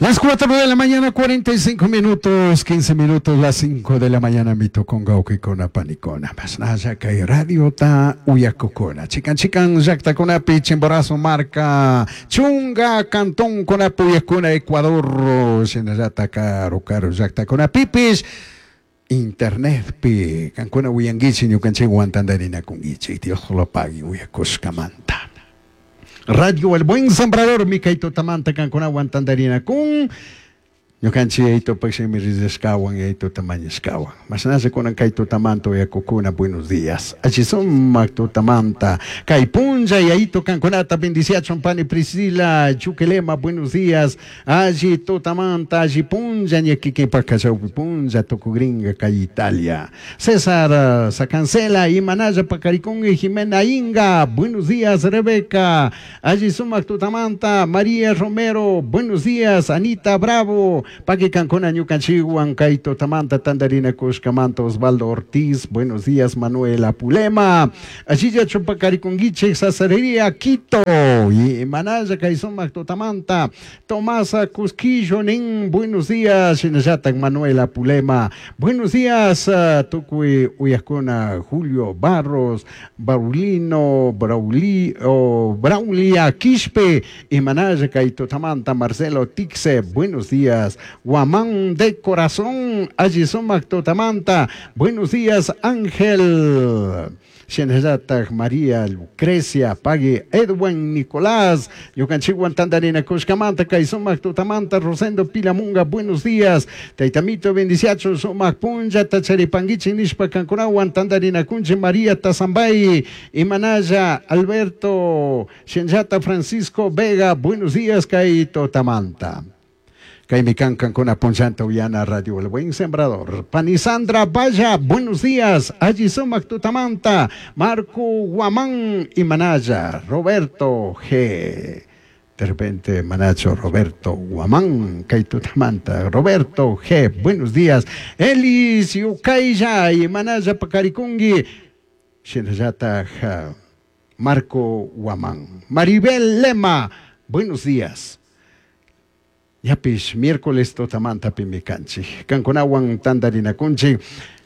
Las 4 de la mañana, 45 minutos, 15 minutos, las 5 de la mañana, mitukunga uquikuna panikuna. Mashnalla kay radiota uyakukuna. Chikan chikan llaktakunapi Chimborazo marka, Chunga cantonkunapi uyakuna Ecuador, shinallata karu karu llaktakunapipish internetpi kankuna uyankichik ñukanchikwan tantarinakunkichik. Dios lo pague uyakushkamanta. Radio El Buen Sembrador mi kay tutamanta kankunawan tantarinakun. Ñukanchik yayitupak shimi rillasqawan yayituta mañashkawan. Mashnalla kunan kay tutamanta uyakukuna, buenos días. Alli sumak tutamanta. Kay punlla yayitu kankunata bendiciachun pani Priscila Chuquilema, buenos días. Alli tutamanta, alli punlla ña kikinpak kachawpi punlla tukugringa kay Italia. César Sacancela, imanalla pakarikunki Jimena Inga, buenos días Rebeca. Alli sumak tutamanta, María Romero, buenos días Anita Bravo, paki kankuna ñukanchikwan kay tutamanta tantarinakushkamanta Osvaldo Ortiz, buenos días Manuela Pulema, allilla chupakarikunkichik Sasarería Quito, imanalla kay sumak tutamanta, Tomasa Cusquillo nin, buenos días, shinallatak Manuela Pulema, buenos días tukuy uyakuna Julio Barros, Baulino, Brauli, oh, Braulia Quispe, imanalla kay tutamanta Marcelo Tixe, buenos días, Guamán de Corazón, alli sumak tutamanta, buenos días Ángel. Shinallatak María Lucrecia, Pagui Edwin Nicolás, ñukanchikwan tantarinakushkamanta kay sumak tutamanta Rosendo Pilamunga, buenos días, Taytamito bendiciachun sumak punllata charipankichik nishpa kankunawan tantarinakunchik María Tazambay, Imanalla Alberto, Shinallata Francisco Vega, buenos días kay tutamanta. Kaymi kan kankuna punllanta uyana Radio El Buen Sembrador. Panisandra Valla, buenos días. Alli sumak tutamanta. Marco Guamán y Manaya. Roberto G. De repente, Manacho Roberto Guamán, kay tutamanta. Roberto G. Buenos días. Elis Yukaya y Manaya Pacarikungi. Shinallata Marco Guamán. Maribel Lema, buenos días. Ñapish miércoles tutamanta pimikanchik. Kankunawan tantarinakunchik.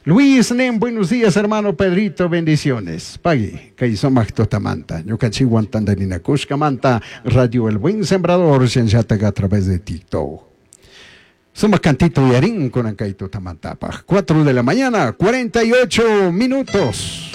Luis Nen, buenos días, hermano Pedrito, bendiciones. Pagui, kay sumak tutamanta. Ñukanchikwan tantarinakushkamanta, Radio El Buen Sembrador, shinallataqa a través de TikTok. Sumak cantito yarin kunan kay tutamantapaj. 4 de la mañana, 48 minutos.